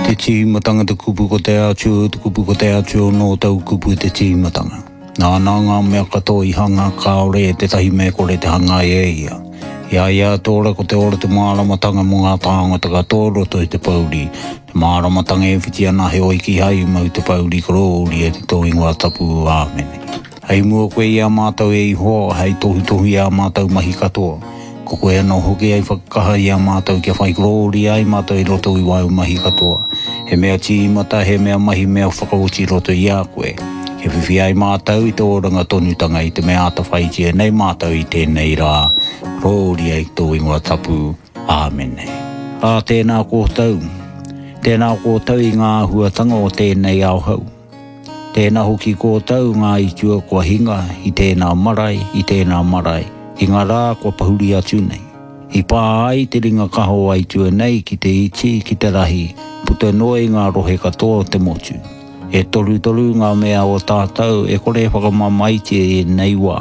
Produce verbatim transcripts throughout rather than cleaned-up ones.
Te tīmatanga te kupu ko te Atua, te kupu ko te Atua nō tau kupu te tīmatanga. Nāna ngā mea katoa i hanga, kāore e tētahi mea kore te hanga e ia. I a ia te ora ko te ora te māramatanga mō ngā tāngata katoa roto i te pouri. Te māramatanga e whiti ana heoi kīhai i mau te pouri korōria ki tō ingoa tapu. Āmene. Hei mua koe i a mātou e Ihoa, hei tohutohu i ā mātou mahi katoa. Ko koe anō hoki hei whakakaha i a mātou kia whai korōria ai mātou i roto i wāu mahi katoa. He mea tīmata, he mea mahi mea whakaoti roto i a koe. Kia whiwhi ai mātou i te oranga tonutanga i te mea atawhaitia nei mātou i tēnei rā. Korōria i tō ingoa tapu. Āmene. Ā, tēnā koutou. Tēnā koutou i ngā āhuatanga o tēnei ao hou. Tēnā hoki koutou ngā aitua kua hinga i tēnā marae, i tēnā marae, i ngā rā kua pahuri atu nei. I pā ai te ringa kaha o aitua nei ki te iti, ki te rahi, puta noa i ngā rohe katoa o te motu. E torutoru ngā mea o tātou e kore e whakamamaetia i ēnei wā.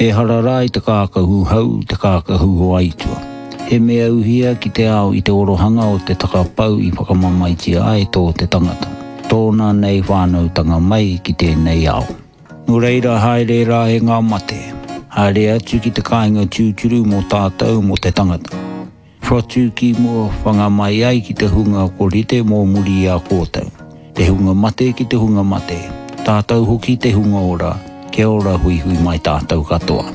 Ehara rā i te kākahu hau, te kākahu o aitua. He mea uhia ki te ao i te orohanga o te takapau i whakamamaetia ai tō te tangata. Tōna nei whānautanga mai ki tēnei ao. Nō reira haere rā e ngā mate. Haere atu ki te kāinga tūturu mō tātou mō te tangata. Whatu ki mua whanga mai ai ki te hunga ko rite mō muri i a koutou. Te hunga mate ki te hunga mate. Tātou hoki te hunga ora. Kia ora huihui mai tātou katoa.